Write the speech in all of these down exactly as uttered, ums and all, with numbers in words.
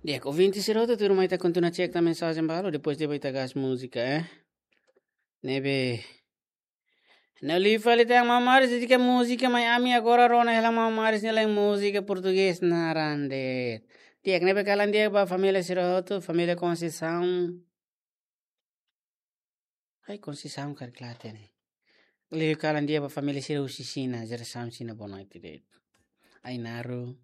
Di'ak, ouvinte sira hotu, tuirmai ita kontinua cek tan mensajen balu, depois de ita gás múzika, eh. Ne'ebé. Ne'e liu fali tan, maun Maris dedika múzika mai ami, agora rona hela maun Maris nia lain múzika portugés naran de'it. Di'ak, ne'ebé kalan di'ak ba família sira hotu, família Conceição. Ai, Conceição karik la hatene. Liu kalan di'ak ba família sira husi Xina, jerasaun Xina, boa noite de'it. Ai, Naru.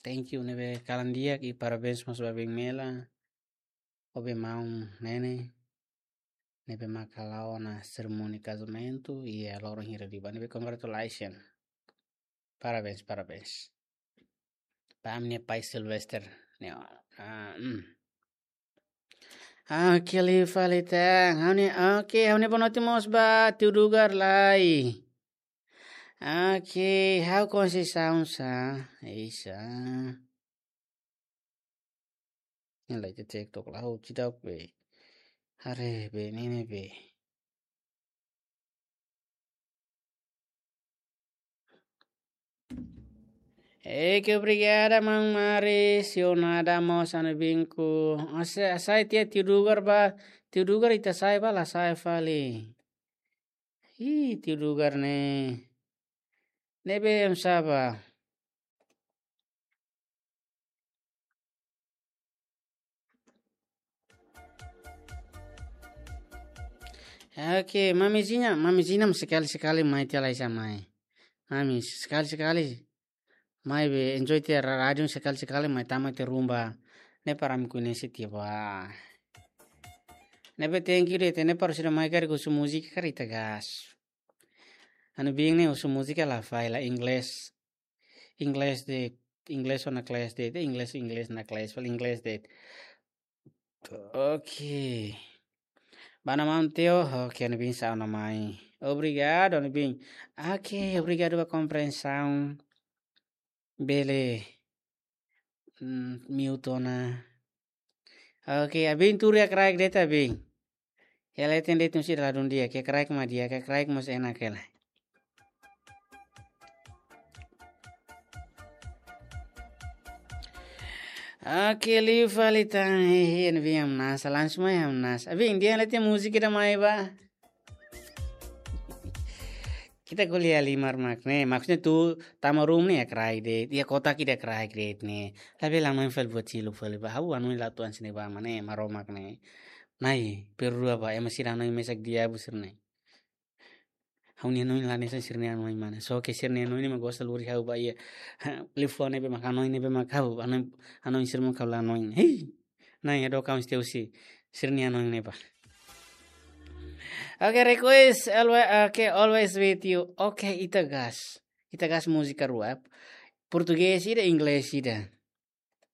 Thank you, ne'ebé kalan di'ak i parabéns mós ba Beng Mela. Ho be maun Nene. Ne'ebé mak hala'o ona serimónia kazamentu, i loron hira liubá. Ne'ebé congratulations. Parabéns, parabéns. Ba ami-nia pai Sylvester. Ne'e, ah, hmm. Ah, oke, liu fali tan. Ha'u-nia, oke, ha'u-nia boa noite mós ba tiu Dugar lai. Oke, ha'u Conceição sá. Isa. Ne'e lai te TikTok la ha'u seidauk be. Haree be, ne'e ne'e be. Oke, obrigada, maun Maris. Sionada mós ha'u-nia binku. Asa, asa tiha tiu Dugar ba, tiu Dugar ita hasai ba, la hasai fali. Ih, tiu Dugar ne'e. Ne'ebé em saba. Oke, Mami Zina, Mami Zina sekali-sekali mai tiha lai sa mai. Mami, sekali-sekali. Mai be enjoy tiha ra-, rádiu sekali-sekali mai tama tiha ruma. Ne'e para ami koñese tiha ba. Ne'ebé thank you de'it, ne'e para sira mai karik husu múzika karik ita gás. Ha'u-nia biin ne'e husu múzika la fai la inglés. Inglés de'it, inglés ona kles de'it, inglés, inglés ona kles, fali inglés de'it. Oke. Ba ona maun Teo, oke, ha'u-nia biin sa'e ona mai. Obrigadu, ha'u-nia biin. Oke, obrigadu ba komprensaun. Bele, mm, mute ona. Oke, abin tuur iha kraik de'it abin. Hela ita-nia de'it sira ladún di'ak, iha kraik mak di'ak, iha kraik mós enak hela. Oke, liu fali tan, hehe, ne'ebé hamnasa, langsung mai hamnasa. Abin, dehan hela ita-nia múzika ida mai ba. Ita ko'alia halimar mak ne'e, maksudnya atu tama ruma ne'e iha kraik de'it, iha kotak ida kraik de'it ne'e. Labele hanoin fali buat seluk fali ba, ha'u hanoin la tuan sini ba mak ne'e, Maromak ne'e. Nai, perdua ba, ema sira hanoin mesak diabu sira-ne'e. Ha'u-nia hanoin la hanesan sira-nia hanoin mak ne'e. Só ke sira-nia hanoin ne'e mak gosta lori ha'u ba iha. Liafuan ne'ebé mak hanoin ne'ebé mak ha'u, hanoin, hanoin sira mak ha'u la hanoin. Hei! Nai, ado kau mesti husi sira-nia hanoin ne'e ba. Oke, request, always, oke, always with you. Oke, ita gás. Ita gás múzika rua. Portugés ida, inglés ida.